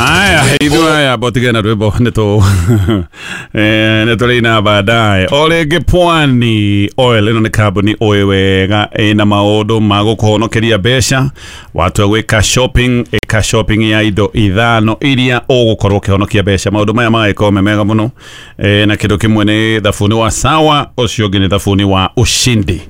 Haya, ithuĩ aya botige na rwĩmbo nĩ nĩ tũrĩina baadaye. O rĩngĩ Pwani Oil ĩno nĩ kambuni ũĩ wega ĩna maũndũ ma gũkũhonokeria mbeca. Watua gwĩka shopping, ĩka shopping ya indo ithano iria ũgũkorwo ũkĩhonokia mbeca. Maũndũ maya magagĩkorwo me mega mũno. Na kĩndũ kĩmwe nĩ thabuni wa Sawa, ũcio ũngĩ nĩ thabuni wa Ushindi.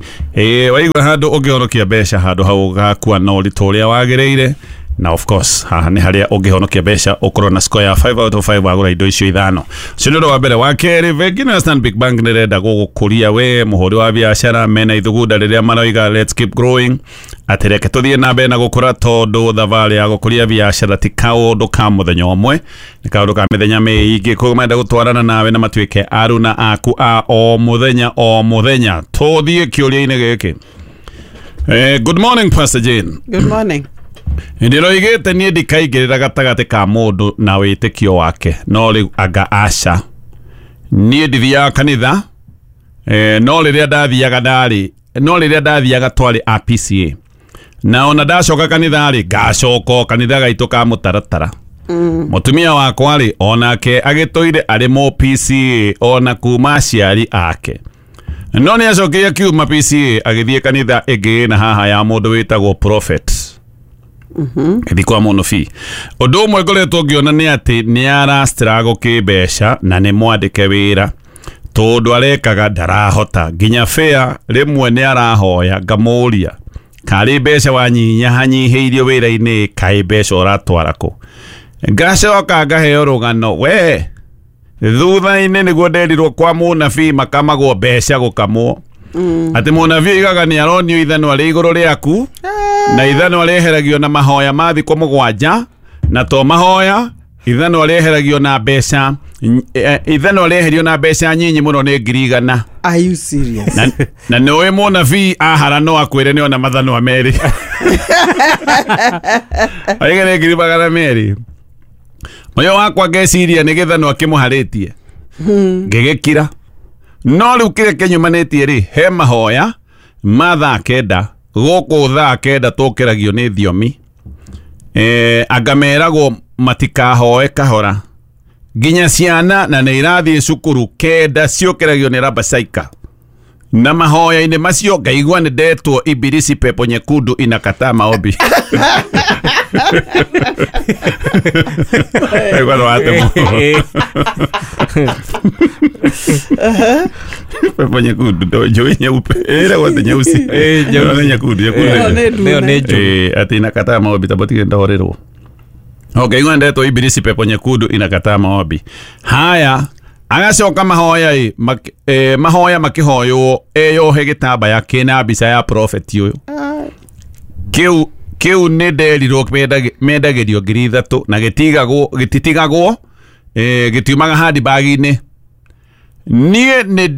Waigua handũ ũngĩhonokia mbeca handũ hau ũgakua na ũritũ ũrĩa wagĩrĩire. Na of course haha nĩ harĩa ũngĩhonokia mbeca ũkorwo na score ya 5 out of 5 wagũra indo icio ithano. Ũcio nĩ ũndũ wa mbere. Wa kerĩ, bengi ĩno ya Stanbic Bank nĩ ĩrenda gũgũkũria we mũhũri wa biacara. Mena ithugunda rĩrĩa maroiga let's keep growing, atĩ reke tũthiĩ na mbere na gũkũra, tondũ thabarĩ ya gũkũria biacara ti kaũndũ ka mũthenya ũmwe, nĩ kaũndũ ka mĩthenya mĩingĩ. Koguo marenda gũtwarana nawe na matuĩke aruna aku a o mũthenya o mũthenya. Tũthiĩ kĩũria-inĩ gĩkĩ. Good morning, Pastor Jane. Good morning. Ndĩroigĩte niĩ ndikaingĩrĩra gatagatĩ ka mũndũ na wĩtĩkio wake, no rĩu anga aca. Niĩ ndithiaga kanitha, no rĩrĩa ndathiaga ndarĩ, no rĩrĩa ndathiaga twarĩ a PCA. Na ona ndacoka kanitha rĩ, ngacoka o kanitha gaitũ ka mũtaratara. Mũtumia wakwa rĩ, onake agĩtũire arĩ mũ PCA ona kuma aciari ake. No nĩ acokire akiuma PCA agĩthiĩ kanitha ĩngĩ na haha ya mũndũ wĩtagwo prophet. Gĩthiĩ kwa mũnabii. Ũndũ ũmwe ngoretwo ngĩona nĩ atĩ nĩ arastruggle kĩmbeca na nĩ mwandĩke wĩra, tondũ arekaga ndarahota nginya fare rĩmwe nĩ arahoya. Ngamũria karĩ mbeca wanyihanyihĩirio wĩra-inĩ, kaĩ mbeca ũratwara kũ? Ngacoka ngaheo rũgano we thutha-inĩ nĩguo nderirwo kwa mũnabii makamagwo mbeca gũkamwo. Atĩ mũnabii oigaga nĩ aronio ithanwa rĩ igũrũ rĩaku, na ithanwa rĩeheragio na mahoya ma thikũ mũgwanja, na to mahoya, ithanwa rĩeheragio na mbeca, ithanwa rĩeherio na mbeca nyinyi mũno nĩ 100,000. Are you serious? Na nĩ ũĩ mũnabii ahara no akwĩre nĩ ona mathanwa merĩ. Oige nĩ 200,000. Moyo wakwa ngeciria nĩ gĩthanwa kĩmũharĩtie. Ngĩgĩkira. No rĩu kĩrĩa kĩnyumanĩtie rĩ, he mahoya ma thaa kenda, gũkũ thaa kenda tũkĩragio nĩ thiomi. Anga meragwo matikahoe kahora nginya ciana na nĩ irathiĩ cukuru kenda ciũkĩragio nĩ rabasaika. Na mahoya-inĩ macio ngaigua nĩ ndetwo ibilisi pepo nyekundu inakataa maombi. Ngaigua nĩ watemwo. Pepo nyekundu ndo njũĩ nyeupe ĩragwo atĩ nyeusi. Nyeusi. Nĩ nyekundu, nyekundu. Ĩyo nĩ Ĩyo nĩ njũĩ. Atĩ inakataa maombi tabotige ndahorerwo. Okay, igua ndetwo ibilisi pepo nyekundu inakataa maombi. Haya, agacoka mahoya ĩ, mahoya makĩhoywo eyohe gĩtambaya kĩna mbica ya prophet ũyũ. Kĩu nĩ nderirwo mendagĩrio 3,000 na gĩtigagwo, gĩtitigagwo, gĩtiumaga handbag-inĩ. Niĩ nĩ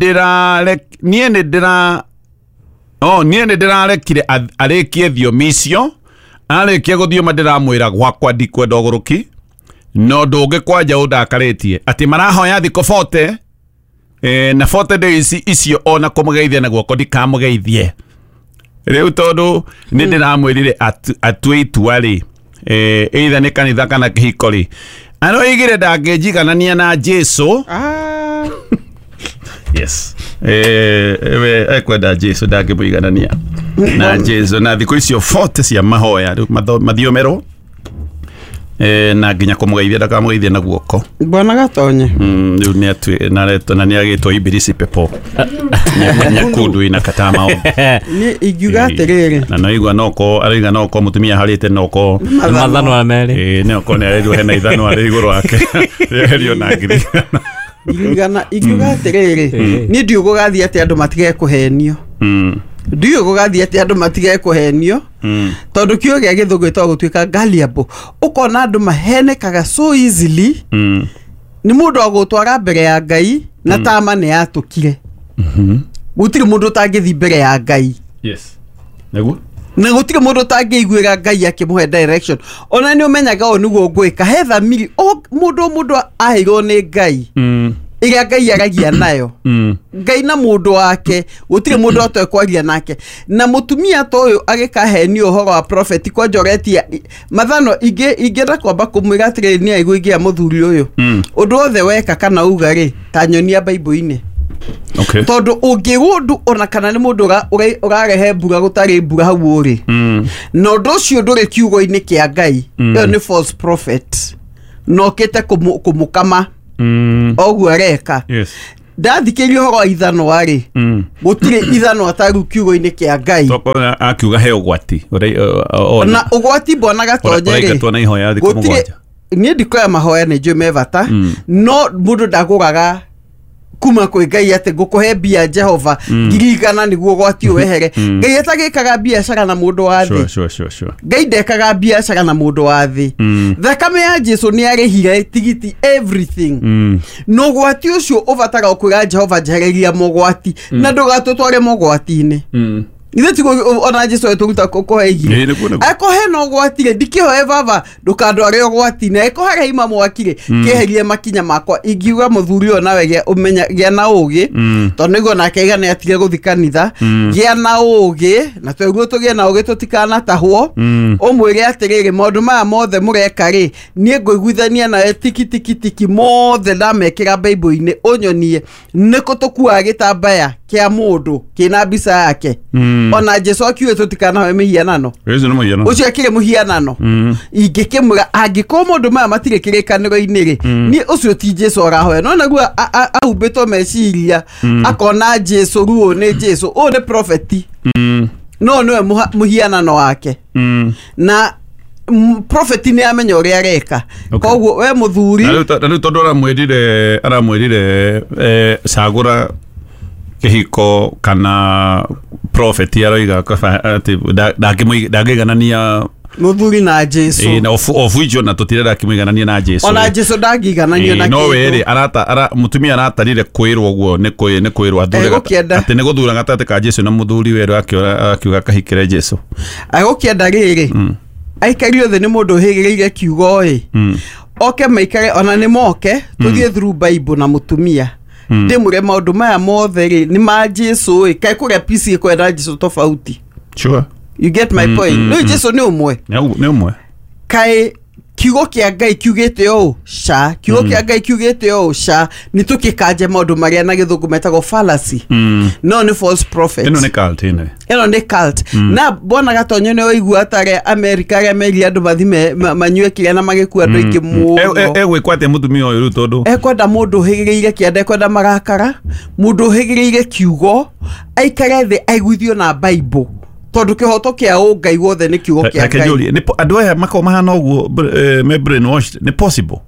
niĩ nĩ ndĩra, oh, niĩ nĩ ndĩrarekire arĩkie thiomi icio. Arĩkia gũthioma ndĩramwĩra gwakwa ndikwenda ũgũrũki, no ndũngĩ kwanja ũndakarĩtie atĩ marahoya thikũ 40, na 40 days icio ona kũmũgeithia na guoko ndikamũgeithie. Rĩu tondũ nĩ ndĩramwĩrire atue itua rĩ, either nĩ kanitha kana kĩhiko rĩ, aroigire ndangĩnjiganania na Jesu. Yes. We ekwenda Jesu ndangĩmũiganania na Jesu. Na thikũ icio 40 cia mahoya rĩu mathiomerwo, na nginya kũmũgeithia ndakamũgeithia na guoko. Bwana Gatonye. Rĩu nĩ atue, na aretwo, na nĩ agĩtwo ibilisi pepo nyekundu inakataa maombi. Niĩ ingiuga atĩrĩrĩ. Na no igua noko aroiga noko mũtumia harĩte noko Mathanwa merĩ. Noko nĩ arerirwo hena ithanwa rĩ igũrũ wake. Rĩeherio na 100,000. Ingiuga atĩrĩrĩ, niĩ ndiũĩ gũgathiĩ atĩ andũ matige kũhenio. Ndiũĩ gũgathiĩ atĩ andũ matige kũhenio. Tondũ kiugo gĩa gĩthũngũ gĩtagwo gũtuĩka gullible. Ũkona andũ mahenekaga so easily. Nĩ mũndũ agũtwara mbere ya Ngai na tama nĩ yatũkire. Gũtirĩ mũndũ ũtangĩthiĩ mbere ya Ngai. Yes. Nĩguo? Na gũtirĩ mũndũ ũtangĩiguĩra Ngai akĩmũhe direction. Ona nĩ ũmenyaga ũũ nĩguo ngwĩka. He thamiri, o mũndũ aheirwo nĩ Ngai. Ĩrĩa Ngai aragia nayo. Ngai na mũndũ wake gũtirĩ mũndũ atekwaria nake. Na mũtumia ta ũyũ agĩkahenio ũhoro wa prophet kwanja ũretia mathano ingĩenda kwamba kũmwĩra atĩrĩrĩ nĩ aigua ingĩa mũthuri ũyũ. Ũndũ wothe weka kana uga rĩ ta nyonia Bible-inĩ. Okay. Tondũ ũngĩgũndũ ona kana nĩ mũndũ ũrarehe mbura gũtarĩ mbura hau ũrĩ. Na ũndũ ũcio ndũrĩ kiugo-inĩ kĩa Ngai. Ĩyo nĩ false prophet. Na ũkĩte kũmũkama. Oguo areka. Yes. Ndathikĩria ũhoro wa ithanwa rĩ. Gũtirĩ ithanwa ta rĩu kiugo-inĩ kĩa Ngai. Tokona akiuga he ũgwati. Na ũgwati mbona Gatonye rĩ. Ũraingatwo na ihoya thikũ mũgwanja. Niĩ ndikoya mahoya nĩ njũĩ me bata. No mũndũ ndagũraga kuma kwĩ Ngai atĩ ngũkũhe mbia Jehova 100,000 nĩguo ũgwati ũwehere. Ngai atagĩkaga biacara na mũndũ wa thĩ. Sure. Ngai ndekaga biacara na mũndũ wa thĩ. Thakame ya Jesu nĩ arĩhire tigiti everything. Na ũgwati ũcio ũbataraga kwĩra Jehova njehereria mogwati na ndũgatũtware mogwati-inĩ. Ithe tiguo ona Jesu etũruta kũhe igiri. Akũhe na ũgwati rĩ ndikĩhoe baba ndũkandware ũgwati-inĩ. Angĩkorwo harĩa ima mwaki rĩ kĩeherie makinya makwa. Ingiuga mũthuri ũyũ nawe ũmenya gĩa na ũgĩ tondũ nĩguo nake aiga nĩ atige gũthiĩ kanitha. Gĩa na ũgĩ na tweguo tũgĩe na ũgĩ tũtikanatahwo. Ũmwĩre atĩrĩrĩ maũndũ maya mothe mũreka rĩ niĩ ngũiguithania nawe tiki tiki tiki mothe ndamekĩra Bible-inĩ ũnyonie nĩkũ tũkuaga gĩtambaya kĩa mũndũ kĩna mbica yake. Ona Jesu akiuge tũtikanahoe mĩhianano. Ũcio akĩrĩ mũhianano. Ingĩkĩmwĩra angĩkorwo maũndũ maya matirĩ kĩrĩkanĩro-inĩ rĩ niĩ ũcio ti Jesu arahoya. No naguo ahumbĩtwo meciria akona Jesu rĩu ũyũ nĩ Jesu ũyũ nĩ prophet. No nĩwe mũhianano wake. Na prophet nĩ amenya ũrĩa areka. Koguo we mũthuri na rĩu tondũ aramwĩrire cagũra kĩhiko kana prophet aroiga atĩ ndangĩiganania mũthuri na Jesu. Na obuijo na tũtirenda akĩmũiganania na Jesu. Ona Jesu ndangĩigananio na no wĩrĩ mũtumia aratarire kwĩrwo ũguo nĩ kwĩrwo athure atĩ nĩ gũthura gatagatĩ ka Jesu na mũthuri werũ akiuga akahikĩre Jesu. Agũkĩenda rĩrĩ aikario thĩ nĩ mũndũ ũhĩgĩrĩire kiugo ĩ oke maikare ona nĩ moke tũthiĩ through Bible na mũtumia ndĩmwĩre maũndũ maya mothe rĩ nĩ ma Jesu ĩ kaĩ kũrĩa PC ĩkwenda Jesu tofauti. Sure. You get my point. No Jesu nĩ ũmwe. Nĩ ũmwe. Kaĩ kiugo kĩa Ngai kiugĩte ũũ ca kiugo kĩa Ngai kiugĩte ũũ ca nĩ tũkĩkanje maũndũ marĩa na gĩthũngũ metagwo fallacy. No nĩ false prophet. Ĩno nĩ cult ĩno. Ĩno nĩ cult. Na mbona Gatonye nĩ waigua tarĩa America arĩa merire andũ mathime manyue kĩrĩa na magĩkua andũ aingĩ mũno. Egwĩkwo atĩa mũtumia ũyũ rĩu tondũ ekwenda mũndũ ũhĩgĩrĩire kĩanda ekwenda marakara mũndũ ũhĩgĩrĩire kiugo aikare thĩ aiguithio na Bible tondũ kĩhoto kĩa ũngai wothe nĩ kiugo kĩa Ngai. Andũ aya makoragwo mahana ũguo me brainwashed nĩ possible.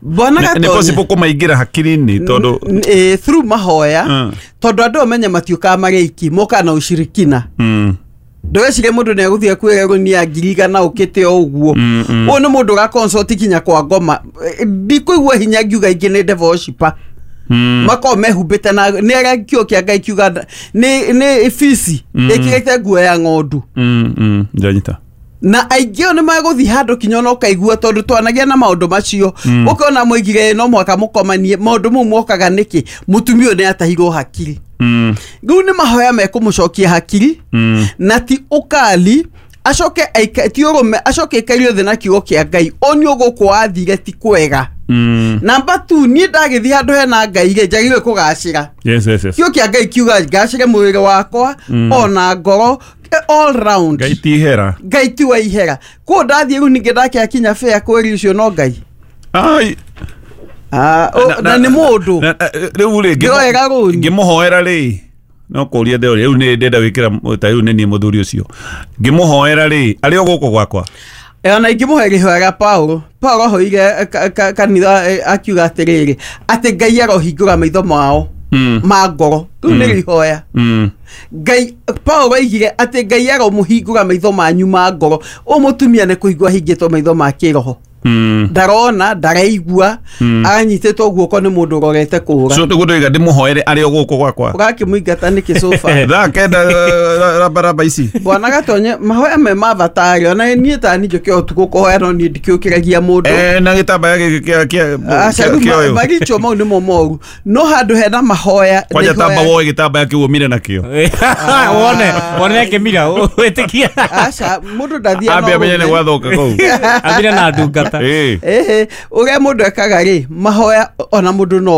Bwana Gatonye nĩ possible kũmaingĩra hakiri-inĩ tondũ through mahoya tondũ andũ amenye matiũkaga marĩ aiki mokaga na ũcirikina. Ndũgecirie mũndũ nĩ egũthiĩ kwĩra rũnia 100,000 ũkĩte o ũguo. Ũyũ nĩ mũndũ ũra-consult kinya kwa ngoma. Ndikũigua hinya ngiuga ingĩ nĩ devil worshipper. Makorwo mehumbĩte na nĩ arĩa kiugo kĩa Ngai kiuga nĩ fici ĩkĩrĩte nguo ya ng'ondu. Ndanyita. Na aingĩ o nĩ magũthiĩ handũ kinya ona ũkaigua tondũ twanagĩa na maũndũ macio. Ũkona mũigire no mũhaka mũkomanie maũndũ mau mokaga nĩkĩ mũtumia ũyũ nĩ atahirwo hakiri. Rĩu nĩ mahoya mekũmũcokia hakiri na ti ũkali acoke ti ũrũme acoke aikario thĩ na kiugo kĩa Ngai onio gũkũ wathire ti kwega. Namba 2 niĩ ndagĩthiĩ handũ hena Ngai rĩ njagĩrĩirwo kũgacĩra. Yes. Kiugo kĩa Ngai kiuga ngacĩre mwĩrĩ wakwa ona ngoro all round. Ngai ti ihera. Ngai ti wa ihera. Kũu ndathiĩ rĩu ningĩ ndakĩakinya fair kwĩri ũcio no Ngai. Ai. Na nĩ mũndũ. Rĩu rĩ ngĩroera rũni. Ngĩmũhoera rĩ no kũria ndĩroria rĩu nĩ ndenda gwĩkĩra ta rĩu nĩ niĩ mũthuri ũcio. Ngĩmũhoera rĩ arĩ o gũkũ gwakwa. Ona ingĩmũhe rĩhoya rĩa Paulo. Paulo ahoire kanitha akiuga atĩrĩrĩ atĩ Ngai arohingũra maitho mao ma ngoro. Rĩu nĩ rĩhoya. Ngai Paulo aigire atĩ Ngai aromũhingũra maitho manyu ma ngoro. Ũyũ mũtumia nĩ kũhingũra ahingĩtwo maitho ma kĩroho. Ndarona, ndaraigua, anyitĩtwo guoko nĩ mũndũ ũrorete kũra. So nĩguo ndoiga ndĩmũhoere arĩ o gũkũ gwakwa. Ũgakĩmũingata nĩkĩ sofa? Thaa 9 rabaraba ici. Bwana Gatonye, mahoya me ma bata rĩ, ona niĩ tani njũke ũtukũ kũhoya, no niĩ ndikĩũkĩragia mũndũ. Eh, na gĩtambaya gĩkĩ kĩa Aca, rĩu kĩa ũyũ. maricho mau nĩmo moru, no handũ hena mahoya Kwanja nĩ tamba ihoya- woe gĩtambaya kĩu ũmire nakĩo. Wone akĩmira wĩtĩkia. Aca, mũndũ ndathiaga Ambe na amenye nĩ ũrũme. gwathoka kũu. Ambire na ndungata. Ĩĩ. Ĩhĩ, ũrĩa mũndũ ekaga rĩ, mahoya ona mũndũ no.